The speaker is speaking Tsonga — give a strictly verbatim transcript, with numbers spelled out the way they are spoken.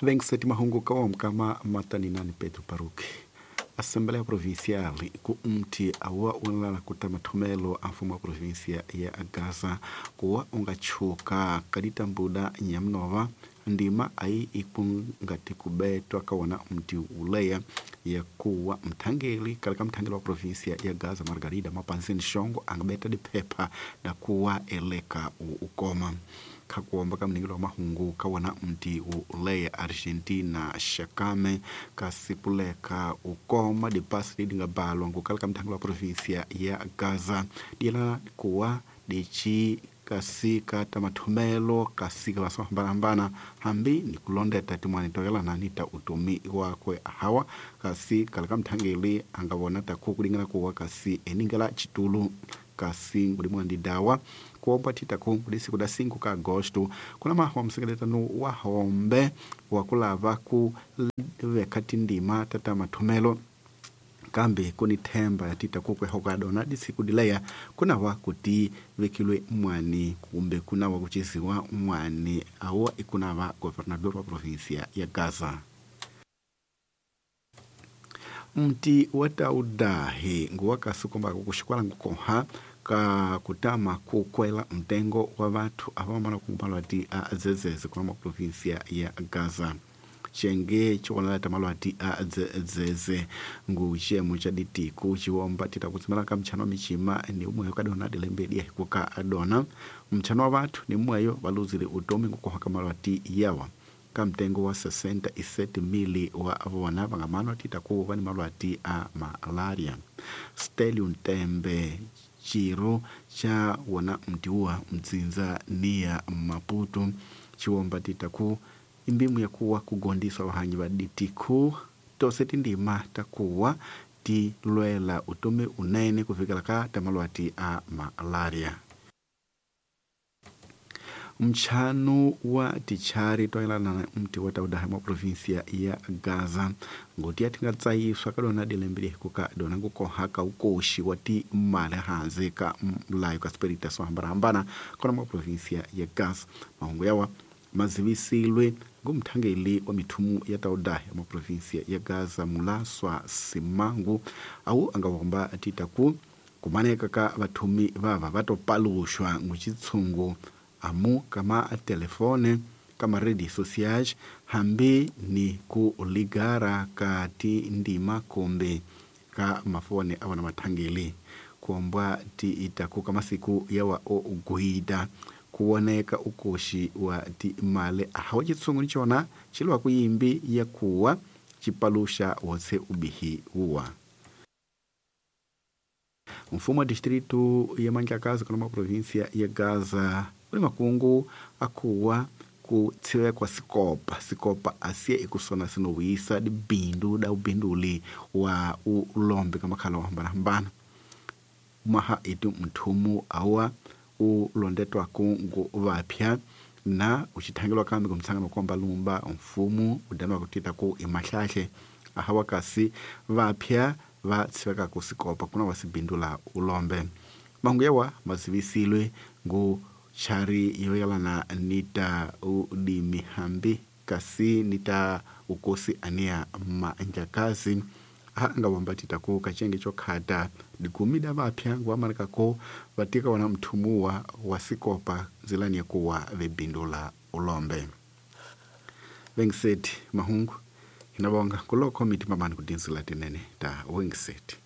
Vengiseti mahungu kawamkama mataninani Pedro Paruki. Assembleia Provincial ku mti awa unlala kuta mathomelo a mfumo wa província ya Gaza kuwa ungachuka kaditambuda nyamnova ndima ayi ikungati kubetwa kawona mti uleya ya kuwa mthangeli kaleka mthangeli wa província ya Gaza Margarida Mapanzini Shongo angabeta diphepha da kuwa eleka ukoma khakuomba ka mningilo wa mahungu kawona mti uleya Argentina Shakame kasipuleka ukoma dipasi lidingabalwa ngukaleka mthangeli wa província ya Gaza dila kuwa dichi kasika tamathomelo kasika vasohambanahambana hambi ni kulondeta timwani toyelana nita utumi wakwe hawa kasi kaleka mthangeli angavona taku kulingana kuwa kasi eningela chitulu kasi ngulimwandi dawa kuomba titaku kulisiku da cinco ka agosto kuna mahu msekeletano wa hombe wakulava ku veka tindima tata mathomelo kambe kuni themba yatita kukwehoka dona disiku dileya kunawa kuti vekilwe mwani kumbe kunawa kuchiziwa mwani awo ikunava governador wa província ya Gaza. Mti wataudahi nguwakasukomba kukuxikwala ngukoha ka kutama kukwela mtengo wa vathu avamala kumalwati a zezeze kuna província ya Gaza. Chenge chiwonalata malwati a dzeze ngu chiyemo cha ditiku chiwomba tita kutsimela ka mtchano wa michima ni umweyo kadona dilembedi yahikuka adona mtchano wa vathu ni mmweyo valuzile utomi ngukoha ka malwati yawa ka mtengo wa sessenta e sete mili wa vona vangamano tita kuva ni malwati a malaria. Stelio Ntembe chiro cha wona mtiuwa mdzinza niya Maputo chiwomba tita ku imbimu yakuwa kugondiswa vahanyi va ditiku tose tindima takuwa tilwela utomi unene kufikela ka tamalwati a malaria. Mchano wa tichari toyelana na mti wa taudaha mwa província ya Gaza ngoti yatingatsayiswa kadona dilembele kuka dona ngukoha ka ukoxi wa timali hanze ka mlayo ka sipelita swo hambanahambana kona mwa província ya Gaza. Mahungu yawa mazivisilwe ngumthangeli wa mithumu ya taudaha mwa província ya Gaza Mulaswa Simangu awu angawomba titaku kumaneka ka vathumi vava vatopaluxwa nguchitshungu amu kama telefone kama rede sociais hambi ni ku ligara ka tindima kumbe ka mafone awana mathangeli kuombwa ti itaku kama siku yawa o guida kuoneka ukoxi wa timali ahawa chitsungu ni chona chiliwa kuyimbi ya kuwa chipaluxa wotse ubihi uwa. Mfumo wa distrito ya Manjakazi kuna província ya Gaza uli makungu akuwa kutsiwekwa sikopa sikopa asiye ikusona sinowisa dibindu da ubinduli wa ulombe kamakhala wa hambana maha itu mthumu awa ulondetwa kungu vapya na uchithangelwa kambi kumtsangano kwamba lumba mfumu udanwa kutita ku imahlahle ahawa kasi vapya va tsiweka kusikopa kuna wasibindula ulombe mangu yawa mazivisilwe ngu chari yoyalana nita udimi hambi kasi nita ukosi ania manjakazi anga wambatita ku kachenge chokhata digumida vapya nguamarikako vatika wana mthumuwa wasikopa nzilani yakuwa vebindula ulombe. Wengiseti mahungu inavonga kulokho mitima mani kudinzila tinene ta wengiseti.